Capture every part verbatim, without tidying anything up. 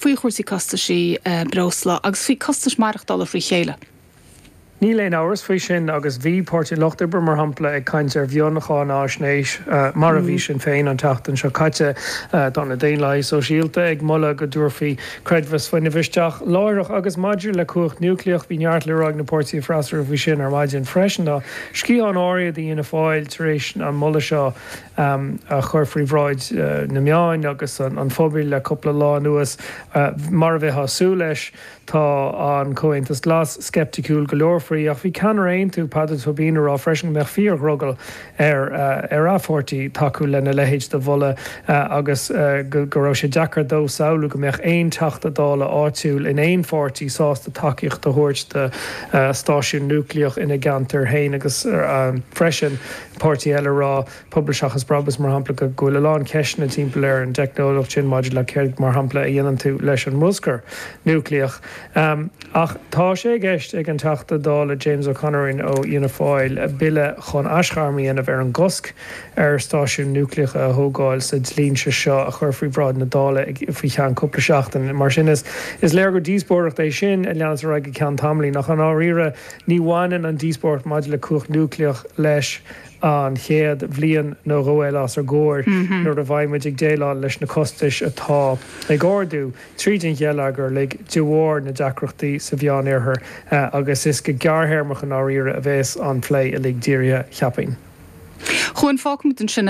Faoi chúrsaí costaisí breosla agus faoi costais maireachtála frí chéile. Níl aon amhras faoi sin agus bhí Páirtí an Lucht Oibre mar shampla ag caint ar mhioncháinaisnéis mar a bhí Sinn Féin an tseachtain seo caite tá na Daonlathaigh Sóisialta ag moladh go dtabharfaí creidmheas fuinnimh isteach láithreach agus maidir le cumhacht núicléach bhí neart le rá ag na páirtithe freasúra faoi sin ar maidin freisin tá sciathán áirithe d'Fhianna Fáil tar éis an moladh seo a chur faoi bhráid na meáin agus an phobail le cúpla lá anuas mar a bheifeá ag súil leis tá an Comhaontas Glas sceipticiúil go leor faoi ach bhí ceannaire Aontú Peadar Tóibín ag rá freisin go mbeadh fíordhrogall ar ar a pháirtí tacú lena leithéid de mholadh agus go raibh sé deacair dó samhlú go mbeadh aon teachta dála áitiúil in aon pháirtí sásta tacaíocht a thabhairt do stáisiún núicléach ina gceantar féin agus freisin páirtí eile rá Pobal Seachas Brabús mar shampla go bhfuil a lán ceisteanna timpeall ar an teicneolaíocht sin maidir le céard mar shampla a dhéanann tú leis an mbruscar núicléach. Um, ach tá sé i gceist ag an Teachta Dála James O'Connor ó Fhianna Fáil bille chun aisghairm a dhéanamh ar an gcosc ar stáisiún núicléacha a thógáil sa dlínse seo a chur faoi bhráid na Dála faoi cheann cúpla seachtain. Mar sin is is léir gur díospóireacht é sin a leanas ar go ceann tamaill ach i ndáiríre ní bhaineann an díospóireacht maidir le cumhacht núicléach leis an chéad bhliain nó dhó eile os ár gcomhair nuair a bheidh muid ag déileáil leis na costais atá ag ardú tríd an gheilleagar le de bharr na deacrachtaí sa Mheánoirthear agus is go gearrthéarmach i ndáiríre a bheas an plé uilig dírithe cheapfainn. Chuan fágfaimid ansin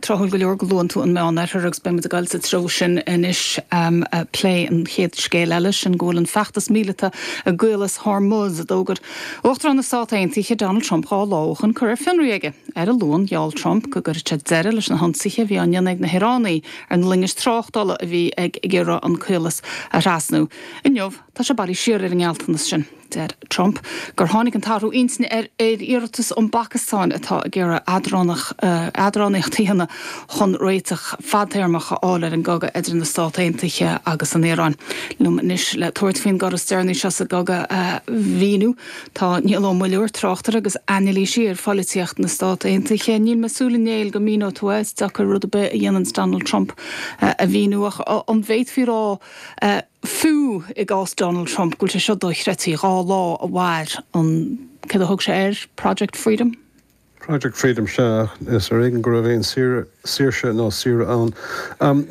tráthúil go leor go luann tú an Meánoirthear agus beimid ag dul sa treo sin anois plé an chéad scéal eile sin go bhfuil an feachtas míleata i gCaolas Hormuz a d'fhógair Uachtarán na Stát Aontaithe Donald Trump dhá lá ó shin curtha ar fionraí aige. Ar an Luan gheall Trump go gcuirfeadh sé deireadh leis na hionsaithe a bhí á ndéanamh ag na hIoránaigh ar na loingis tráchtála a bhí ag iarraidh an caolas a thrasnú. Inniu tá sé bailithe siar ar an ngealltanas sin. Deir Trump gur tháinig an t-athrú intinne ar ar iarratas ón bPacastáin atá ag iarraidh eadránaíocht a dhéanamh chun réiteach fadtéarmach a fháil ar an gcogadh idir na Stát Aontaithe agus an Iaráin. Liom anois le tabhairt faoin gcor is deireanaí seo sa gcogadh a mhíniú tá Niall Ó Muilleoir tráchtaire agus anailísí ar pholaitíocht na Stát Aontaithe. Níl mé ag súil a Néill go míneoidh tú é deacair rud ar bith a dhéanann Donald Trump a mhíniú ach an bhféadfaí rá fiú i gcás Donald Trump go bhfuil sé seo dochreidte dhá lá a mhair an cad a thug sé air Project Freedom? Project Freedom se is ar éigean go raibh aon saoirse nó saoire ann. Um,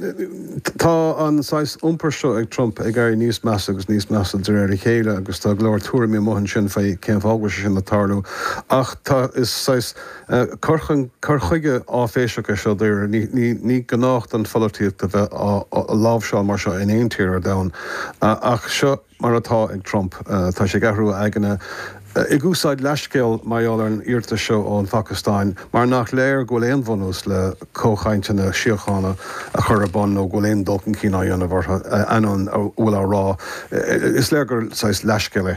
tá an saghas iompar seo ag Trump ag éirí níos measa agus níos measa de réir a chéile agus tá go leor tuairimí amuigh ansin faoi cén fáth sin ag tarlú ach tá is saghas uh, cur chuige áiféiseach é seo déir ní, ní, ní gnách don pholaitíocht a bheith á láimhseáil mar seo in aon tír ar domhan uh, ach seo mar atá ag Trump uh, tá sé ag athrú aigne ag úsáid leithscéal mar gheall ar an iarratas seo ón Phacastáin, mar nach léir go bhfuil aon bhunús le comhchainteanna síochána a chur ar bun nó go bhfuil aon dul chun cinn á dhéanamh orthu an bhfuil á rá. Is léir gur saghas leithscéal é.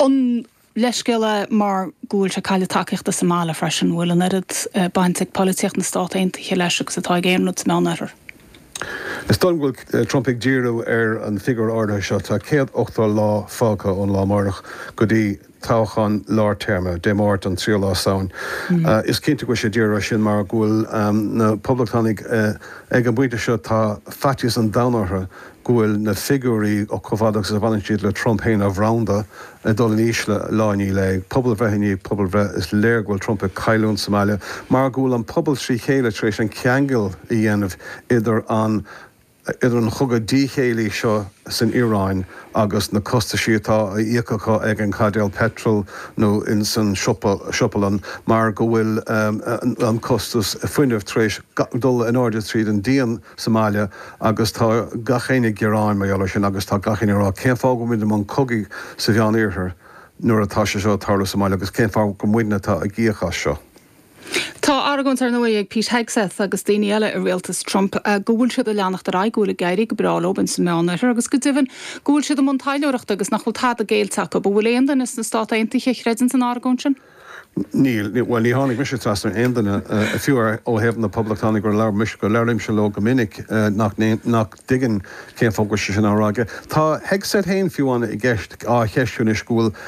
An leithscéal é mar go bhfuil sé ag cailleadh tacaíochta sa mbaile freisin bhfuil an oiread baint ag polaitíocht na Stát Aontaithe leis agus atá ag aon rud sa Mheánoirthear. Is dóigh go bhfuil Trump ag díriú ar an figiúr áirithe seo tá céad ochtó lá fágtha ón lá amárach go dtí toghchán lár téarma Dé Máirt an tríú lá Samhain. Mm. Uh, is cinnte go bhfuil sé dírithe sin mar go bhfuil um, na poblachtánaigh uh, ag an bpointe seo tá faitíos an domhain orthu go bhfuil na figiúirí ó chomh fada agus a bhaineann siad le Trump féin a bhranda ag dul in ísle lá ní le pobalbhreith i ndiaidh pobalbhreith is léir go bhfuil Trump ag cailliúint sa mbaile mar go bhfuil an pobal trí chéile tar éis an ceangal a dhéanamh idir an idir an chogadh díchéillí seo san Iaráin agus na costaisí atá á íoc acu ag an caidéal petrol nó in san siopalann mar go bhfuil um, an costas fuinnimh tar éis dul in airde tríd an díon sa mbaile agus tá gach éinne ag gearán mar gheall sin agus tá gach éinne ag rá cén fáth go bhfuil muid i mbun cogaidh sa Mheánoirthear nuair atá sé seo ag tarlú sa mbaile agus cén fáth gur muidne atá ag íoc as seo. Tá argóint ar ndóigh ag Pete Hegseth agus daoine eile i rialtas Trump go bhfuil siad ag leanacht ar aghaidh go bhfuil ag éirí go breá leo sa Mheánoirthear agus go deimhin go bhfuil siad i mbun taidhleoireachta agus nach bhfuil tada géillte acu, bhfuil aon duine sna Stát Aontaithe a chreideann san argóint sin? Níl well ní tháinig mise trasna aon duine fiú ó thaobh na poblachtánaigh gur labhair mise go labhraímse leo go minic nach nach dtuigeann cén fáth sin á rá. Tá Hegseth féin fiú an i gceist á cheistiú anois go bhfuil